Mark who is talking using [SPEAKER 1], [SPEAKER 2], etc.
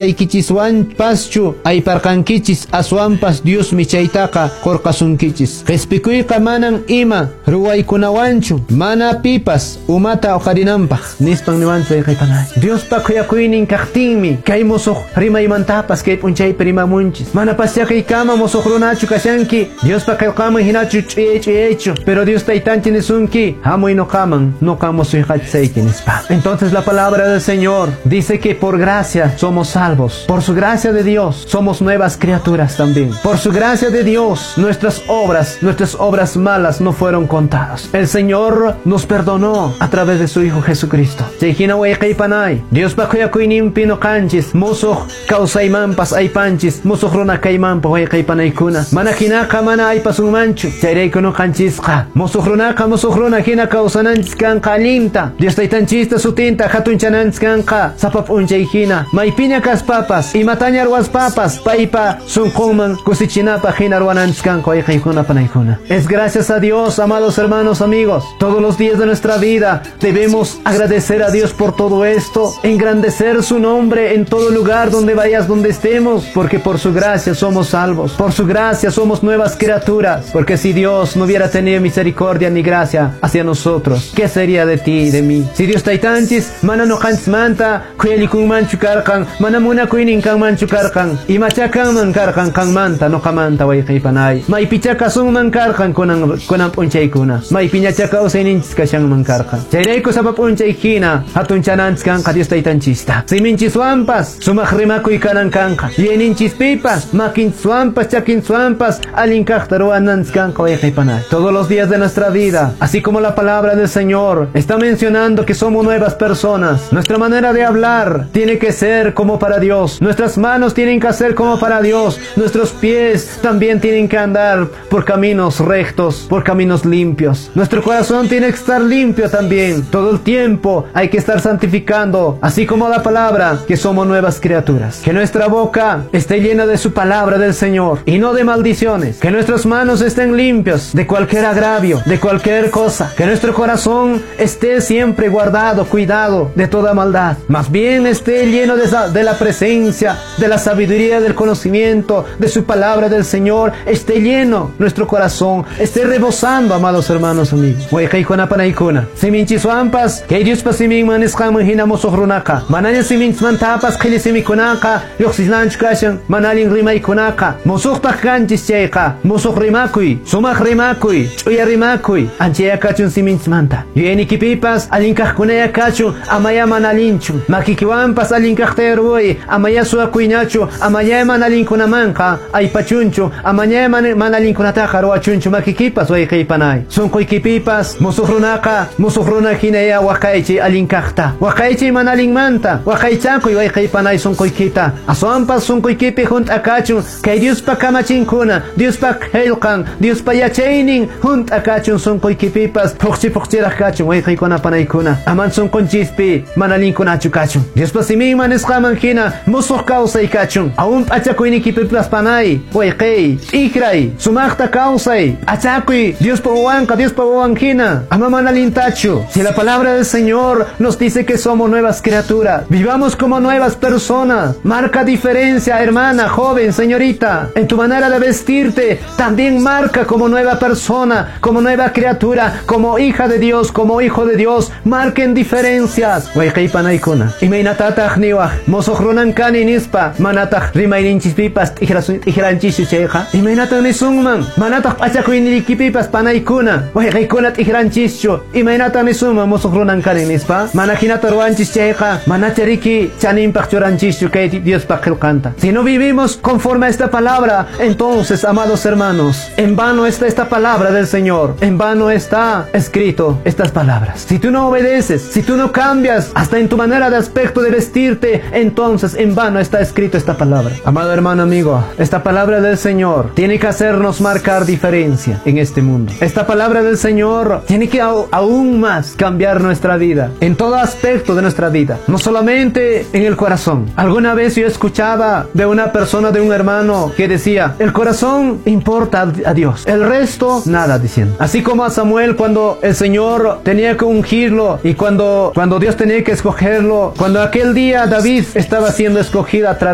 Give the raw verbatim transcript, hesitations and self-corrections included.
[SPEAKER 1] Aykichiswanpaschu ayparqankichis aswanpas Diosmi chaytaqa qurqasunkichis. Qhispikuyqa manan ima ruwaykunawanchu mana pipas umata uqarinanpaq nispan niwanchu wayqaypanay. Diospa khuyakuynin kaqtinmi kay musuq rimaymantapas kay p'unchaypi rimamunchis. Manapaschá kaykama musuq runachu kashanki Diospa qillqaman hinachu ch'uyay ch'uyaychu, pero Dios taytanchik nisunki hamuy nuqaman nuqa musuyqachisayki nispa. Entonces la palabra del Señor dice que por gracia somos salvos. Por su gracia de Dios somos nuevas criaturas también. Por su gracia de Dios nuestras obras, nuestras obras malas no fueron contadas. El Señor nos perdonó a través de su Hijo Jesucristo. Chayhina wayqaypanay, Diospa khuyakuyninpi nuqanchis musuq kawsaymanpas aypanchis, musuq runa kaymanpas wayqaypanaykuna. Mana hinaqa mana aypasunmanchu. Chayrayku nuqanchisqa musuq runaqa musuq runa hina kawsananchis kanqa allinta. Dios taytanchista sutinta hatunchananchis kanqa sapa p'unchay hina. Maypiña kaspapas, imataña ruwaspapas, paypa sunqunman kusichinapaq hina ruwananchis kanqa wayqaykuna panaykuna. Es gracias a Dios, amados hermanos, amigos, todos los días de nuestra vida debemos agradecer a Dios por todo esto, engrandecer su nombre en todo lugar donde vayas, donde estemos, porque por su gracia somos salvos, por su gracia somos nuevas criaturas, porque si Dios no hubiera tenido misericordia ni gracia hacia nosotros, ¿qué sería de ti y de mí? Si Dios taytanchis, mana nuqanchismanta khuyalikunmanchu karqan, mana munakuynin kanmanchu karqan, imacha kanman karqan qanmanta nuqamanta wayqaypanay, maypicha kasunman karqan kunan kunan p'unchaykuna, maypiñacha kawsayninchis kashanman karqan. Chayrayku sapa p'unchay hina hatunchananchis kanqa Dios taytanchista. Siminchiswanpas sumaq rimakuy kanan kanqa, yuyayninchispipas makinchiswanpas chakinchiswanpas allin kaqta ruwananchis kanqa wayqaypanay. Todos los días de nuestra vida, así como la palabra del Señor está mencionando que somos nuevas personas, nuestra manera de hablar tiene que ser como para Dios, nuestras manos tienen que hacer como para Dios, nuestros pies también tienen que andar por caminos rectos, por caminos limpios. Nuestro corazón tiene que estar limpio también. Todo el tiempo hay que estar santificando, así como la palabra, que somos nuevas criaturas. Que nuestra boca esté llena de su palabra del Señor y no de maldiciones. Que nuestras manos estén limpias de cualquier agravio, de cualquier cosa. Que nuestro corazón esté siempre guardado, cuidado de toda maldad. Más bien esté lleno de, de la presencia, de la sabiduría, del conocimiento, de su palabra del Señor. Esté lleno nuestro corazón, esté rebosando, amados hermanos, amigos. Wayqaykuna panaykuna. Siminchiswanpas, kay Diospa siminman nisqanman hina musuq runaqa. Manaña siminchismantapas qhilli simikunaqa lluqsinanchu kashan, mana allin rimaykunaqa. Musuqtaq kanchis chayqa, musuq rimakuy, sumaq rimakuy, ch'uya rimakuy, anchaya kachun siminchismanta. Yuyaynikipipas allin kaqkunaya kachun, amaya mana allinchu. Makikiwanpas allin kaqta ruway, amaya suwakuyñachu, amaya mana allinkunamanqa aypachunchu, amaña mana allinkunataqa ruwachunchu makikipas wayqaypanay. Sunquykipipas musuq runaqa, musuq runa hinaya waqaychay allin kaqta. Waqaychay mana allinmanta, waqaychakuy wayqaypanay sunquykita. Aswanpas sunquykipi hunt'akachun kay Diospa kamachinkuna, Diospa qillqan, Diospa yachaynin hunt'akachun sunquykipipas phuqchi phuqchiraq kachun wayqaykuna panaykuna. Aman sunqunchispi mana allinkunachu kachun. Diospa siminman nisqaman hina musuq kawsay kachun. Aún p'achakuynikipipas panay, wayqay, t'ikray, sumaqta kawsay, p'achakuy Diospa wawanqa, Diospa wawan hina, ama mana allintachu. Si la palabra del Señor nos dice que somos nuevas criaturas, vivamos como nuevas personas. Marca diferencia, hermana, joven, señorita. En tu manera de vestirte, también marca como nueva persona, como nueva criatura, como hija de Dios, como hijo de Dios. Marquen diferencias. Wayqaypanaykuna. Imaynatataq niwaq, musuq runan kani nispa, manataq rimayninchispipas t'ikranchischu chayqa. Imaynatan nisunman, manataq p'achakuynikipipas panaykuna, wayqaykuna t'ikranchischu. Imaynatan nisunman musuq runan kani nispa, mana hinata ruwanchis chayqa, manacha riki chaninpaq churanchischu kay Diospa qillqanta. Si no vivimos conforme a esta palabra, entonces, amados hermanos, en vano está esta palabra del Señor, en vano está escrito estas palabras. Si tú no obedeces, si tú no cambias hasta en tu manera de aspecto de vestirte, entonces en vano está escrito esta palabra. Amado hermano, amigo, esta palabra del Señor tiene que hacernos marcar diferencia en este mundo. Esta palabra del Señor tiene que aún más cambiar nuestra vida, en todo aspecto de nuestra vida, no solamente en el corazón. Alguna vez yo escuchaba de una persona, de un hermano, que decía: el corazón importa a Dios, el resto nada, diciendo. Así como a Samuel, cuando el Señor tenía que ungirlo y cuando, cuando Dios tenía que escogerlo, cuando aquel día David estaba Estaba siendo escogida a través